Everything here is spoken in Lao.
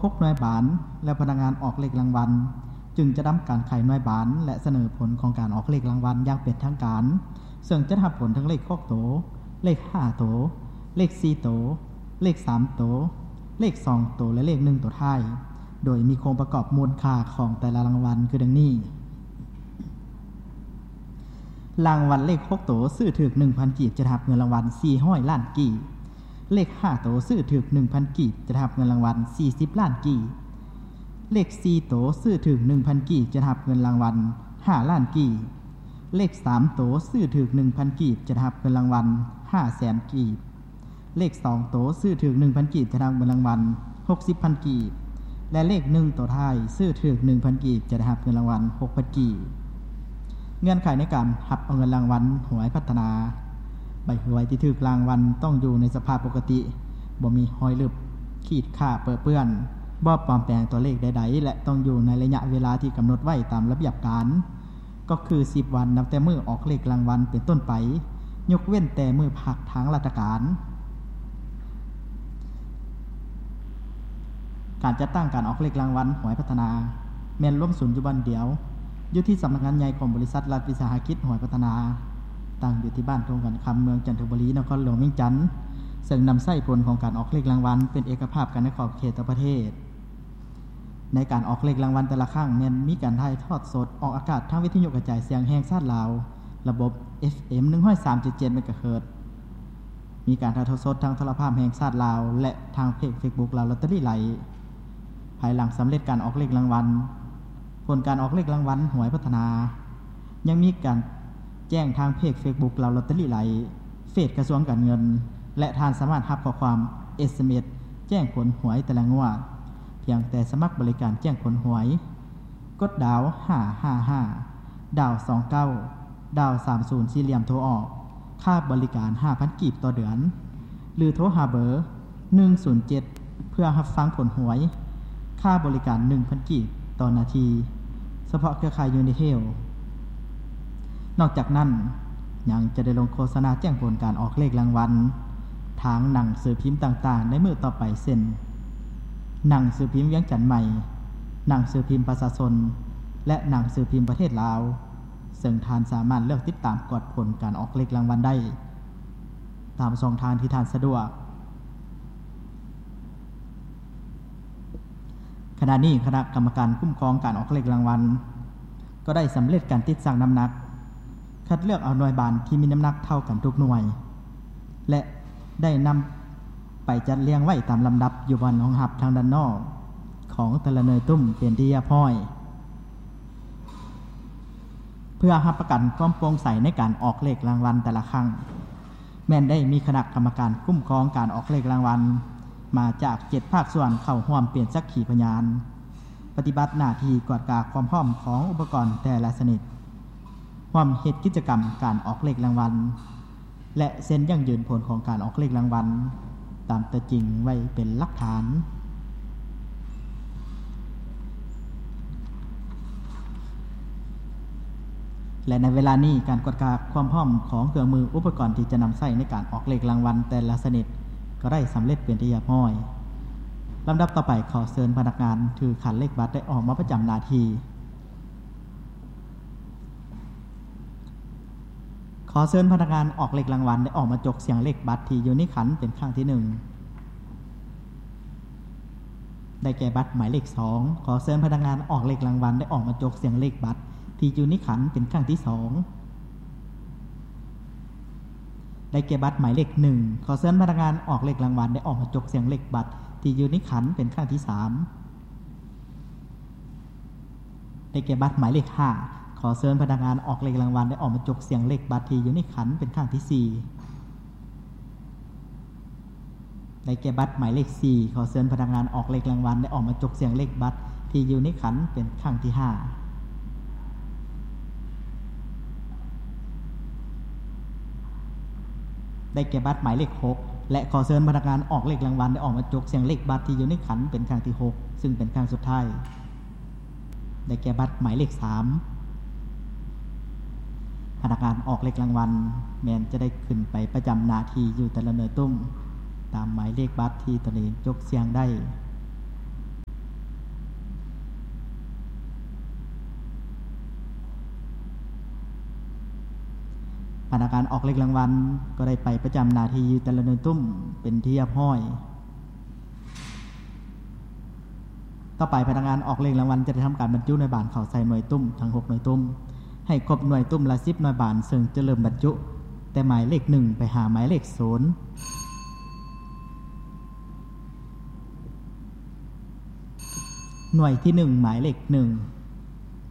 ຫົກໜ່ວຍບານ ແລະ ພະນັກງານອອກເລກລາງວັນ ຈຶ່ງຈະທຳການໄຂໜ່ວຍບານ ແລະ ສະເໜີຜົນຂອງການອອກເລກລາງວັນຢ່າງເປັນທາງການ, ເຊິ່ງຈະຮັບຜົນທັງເລກຫົກໂຕ, ເລກຫ້າໂຕ, ເລກສີ່ໂຕ, ເລກສາມໂຕ, ເລກສອງໂຕ ແລະ ເລກໜຶ່ງໂຕທ້າຍ, ໂດຍມີໂຄງປະກອບມູນຄ່າຂອງແຕ່ລະລາງວັນຄືດັ່ງນີ້. ລາງວັນເລກຫົກໂຕ ຊື້ຖືກໜຶ່ງພັນກີບ ຈະໄດ້ຮັບເງິນລາງວັນສີ່ຮ້ອຍລ້ານກີບ. ເລກຫ້າໂຕ ຊື້ຖືກໜຶ່ງພັນກີບ ຈະໄດ້ຮັບເງິນລາງວັນສີ່ສິບລ້ານກີບ. ເລກສີ່ໂຕ ຊື້ຖືກໜຶ່ງພັນກີບ ຈະໄດ້ຮັບເງິນລາງວັນຫ້າລ້ານກີບ. ເລກສາມໂຕ ຊື້ຖືກໜຶ່ງພັນກີບ ຈະໄດ້ຮັບເງິນລາງວັນຫ້າແສນກີບ. ເລກສອງໂຕ ຊື້ຖືກໜຶ່ງພັນກີບ ຈະໄດ້ຮັບເງິນລາງວັນຫົກສິບພັນກີບ ແລະ ເລກໜຶ່ງໂຕທ້າຍ ຊື້ຖືກໜຶ່ງພັນກີບ ຈະໄດ້ຮັບເງິນລາງວັນຫົກພັນກີບ. ເງື່ອນໄຂໃນການຮັບເອົາເງິນລາງວັນຫວຍພັດທະນາ. ໃບຫວຍທີ່ຖືກລາງວັນຕ້ອງຢູ່ໃນສະພາບປົກກະຕິ, ບໍ່ມີຮອຍລຶບ, ຂີດຂ້າເປິເປື້ອນ, ບໍ່ປອມແປງຕົວເລກໃດໆ ແລະ ຕ້ອງຢູ່ໃນໄລຍະເວລາທີ່ກຳນົດໄວ້ຕາມລະບຽບການ. ກໍຄືສິບວັນ ນັບແຕ່ມື້ອອກເລກລາງວັນເປັນຕົ້ນໄປ, ຍົກເວັ້ນແຕ່ມື້ພັກທາງລັດຖະການ. ການຈັດຕັ້ງການອອກເລກລາງວັນຫວຍພັດທະນາ ແມ່ນລວມສູນຢູ່ບ່ອນດຽວ, ຢູ່ທີ່ສຳນັກງານໃຫຍ່ຂອງບໍລິສັດລັດວິສາຫະກິດຫວຍພັດທະນາ, ຕັ້ງຢູ່ທີ່ບ້ານທົ່ງຂັນຄຳ ເມືອງຈັນທະບູລີ, ນະຄອນຫຼວງວຽງຈັນ, ເຊິ່ງນຳໃຊ້ຜົນຂອງການອອກເລກລາງວັນເປັນເອກະພາບກັນໃນຂອບເຂດທົ່ວປະເທດ. ໃນການອອກເລກລາງວັນແຕ່ລະຄັ້ງ ແມ່ນມີການຖ່າຍທອດສົດອອກອາກາດທາງວິທະຍຸກະຈາຍສຽງແຫ່ງຊາດລາວ ລະບົບ ເອຟເອັມ ໜຶ່ງຮ້ອຍສາມຈຸດເຈັດ ເມກາເຮີດ, ມີການຖ່າຍທອດສົດທາງໂທລະພາບແຫ່ງຊາດລາວ ແລະ ທາງເພຈເຟສບຸກລາວລອດເຕີຣີໄລ. ພາຍຫຼັງສຳເລັດການອອກເລກລາງວັນ, ຜົນການອອກເລກລາງວັນຫວຍພັດທະນາ ຍັງມີການແຈ້ງທາງເພຈເຟສບຸກລາວລອດເຕີຣີໄລ, ເຟສກະຊວງການເງິນ ແລະ ທ່ານສາມາດຮັບຂໍ້ຄວາມ ເອສເອັມເອສ ແຈ້ງຜົນຫວຍແຕ່ລະງວດ ພຽງແຕ່ສະໝັກບໍລິການແຈ້ງຜົນຫວຍ, ກົດດາວຫ້າຫ້າຫ້າ ດາວສອງເກົ້າ ດາວສາມສູນ ສີ່ຫຼ່ຽມໂທອອກ, ຄ່າບໍລິການຫ້າພັນກີບຕໍ່ເດືອນ ຫຼື ໂທຫາເບີ ໜຶ່ງສູນເຈັດ ເພື່ອຮັບຟັງຜົນຫວຍ, ຄ່າບໍລິການໜຶ່ງພັນກີບຕໍ່ນາທີ, ສະເພາະເຄືອຂ່າຍຢູນິເທລ. ນອກຈາກນັ້ນ ຍັງຈະໄດ້ລົງໂຄສະນາແຈ້ງຜົນການອອກເລກລາງວັນ ທາງໜັງສືພິມຕ່າງໆໃນມື້ຕໍ່ໄປ ເຊັ່ນ ໜັງສືພິມວຽງຈັນໃໝ່, ໜັງສືພິມປະຊາຊົນ ແລະ ໜັງສືພິມປະເທດລາວ, ເຊິ່ງທ່ານສາມາດເລືອກຕິດຕາມກວດຜົນການອອກເລກລາງວັນໄດ້ ຕາມຊ່ອງທາງທີ່ທ່ານສະດວກ. ຂະນະນີ້ຄະນະກຳມະການຄຸ້ມຄອງການອອກເລກລາງວັນ ກໍໄດ້ສຳເລັດການຕິດຊັ່ງນ້ຳໜັກ, ຄັດເລືອກເອົາໜ່ວຍບານທີ່ມີນ້ຳໜັກເທົ່າກັນທຸກໜ່ວຍ ແລະ ໄດ້ນຳໄປຈັດລຽງໄວ້ຕາມລຳດັບຢູ່ບ່ອນຮອງຮັບທາງດ້ານນອກຂອງແຕ່ລະໜ່ວຍຕຸ້ມເປັນທີ່ຮຽບຮ້ອຍ. ເພື່ອຮັບປະກັນຄວາມໂປ່ງໃສໃນການອອກເລກລາງວັນແຕ່ລະຄັ້ງ, ແມ່ນໄດ້ມີຄະນະກຳມະການຄຸ້ມຄອງການອອກເລກລາງວັນມາຈາກເຈັດພາກສ່ວນເຂົ້າຮ່ວມເປັນສັກຂີພະຍານ, ປະຕິບັດໜ້າທີ່ກວດກາຄວາມພ້ອມຂອງອຸປະກອນແຕ່ລະຊະນິດ, ຮ່ວມເຮັດກິດຈະກຳການອອກເລກລາງວັນ ແລະ ເຊັນຢັ້ງຢືນຜົນຂອງການອອກເລກລາງວັນຕາມຕົວຈິງໄວ້ເປັນຫຼັກຖານ. ແລະ ໃນເວລານີ້ ການກວດກາຄວາມພ້ອມຂອງເຄື່ອງມືອຸປະກອນທີ່ຈະນຳໃຊ້ໃນການອອກເລກລາງວັນແຕ່ລະຊະນິດ ກໍໄດ້ສຳເລັດເປັນທີ່ຮຽບຮ້ອຍ. ລຳດັບຕໍ່ໄປ ຂໍເຊີນພະນັກງານຖືຂັນເລກບັດໄດ້ອອກມາປະຈຳໜ້າທີ່. ຂໍເຊີນພະນັກງານອອກເລກລາງວັນໄດ້ອອກມາຈົກສຽງເລກບັດທີ່ຢູ່ໃນຂັນເປັນຄັ້ງທີໜຶ່ງ ໄດ້ແກ່ບັດໝາຍເລກສອງ. ຂໍເຊີນພະນັກງານອອກເລກລາງວັນໄດ້ອອກມາຈົກສຽງເລກບັດທີ່ຢູ່ໃນຂັນເປັນຄັ້ງທີສອງ ໄດ້ແກ່ບັດໝາຍເລກໜຶ່ງ. ຂໍເຊີນພະນັກງານອອກເລກລາງວັນໄດ້ອອກມາຈົກສຽງເລກບັດທີ່ຢູ່ໃນຂັນເປັນຄັ້ງທີສາມ ໄດ້ແກ່ບັດໝາຍເລກຫ້າ. ຂໍເຊີນພະນັກງານອອກເລກລາງວັນໄດ້ອອກມາຈົກສຽງເລກບັດທີ່ຢູ່ໃນຂັນເປັນຄັ້ງທີສີ່ ໄດ້ແກ່ບັດໝາຍເລກສີ່. ຂໍເຊີນພະນັກງານອອກເລກລາງວັນໄດ້ອອກມາຈົກສຽງເລກບັດທີ່ຢູ່ໃນຂັນເປັນຄັ້ງທີຫ້າ ໄດ້ແກ່ບັດໝາຍເລກຫົກ ແລະ ຂໍເຊີນພະນັກງານອອກເລກລາງວັນໄດ້ອອກມາຈົກສຽງເລກບັດທີ່ຢູ່ໃນຂັນເປັນຄັ້ງທີຫົກ ຊຶ່ງເປັນຄັ້ງສຸດທ້າຍ. ໄດ້ແກ່ບັດໝາຍເລກສາມ. ພະນັກງານອອກເລກລາງວັນແມ່ນຈະໄດ້ຂຶ້ນໄປປະຈຳໜ້າທີ່ຢູ່ແຕ່ລະໜ່ວຍຕຸ້ມ ຕາມໝາຍເລກບັດທີ່ຕົນເອງຈົກສຽງໄດ້. ພະນັກງານອອກເລກລາງວັນກໍໄດ້ໄປປະຈຳໜ້າທີ່ຢູ່ແຕ່ລະໜ່ວຍຕຸ້ມເປັນທີ່ຮຽບຮ້ອຍ. ຕໍ່ໄປພະນັກງານອອກເລກລາງວັນຈະໄດ້ທຳການບັນຈຸໜ່ວຍບານເຂົ້າໃສ່ໜ່ວຍຕຸ້ມທັງຫົກໜ່ວຍຕຸ້ມ ໃຫ້ຄົບໜ່ວຍຕຸ້ມລະສິບໜ່ວຍບານ ເຊິ່ງຈະເລີ່ມບັນຈຸແຕ່ໝາຍເລກໜຶ່ງໄປຫາໝາຍເລກສູນ. ໜ່ວຍທີໜຶ່ງ ໝາຍເລກໜຶ່ງ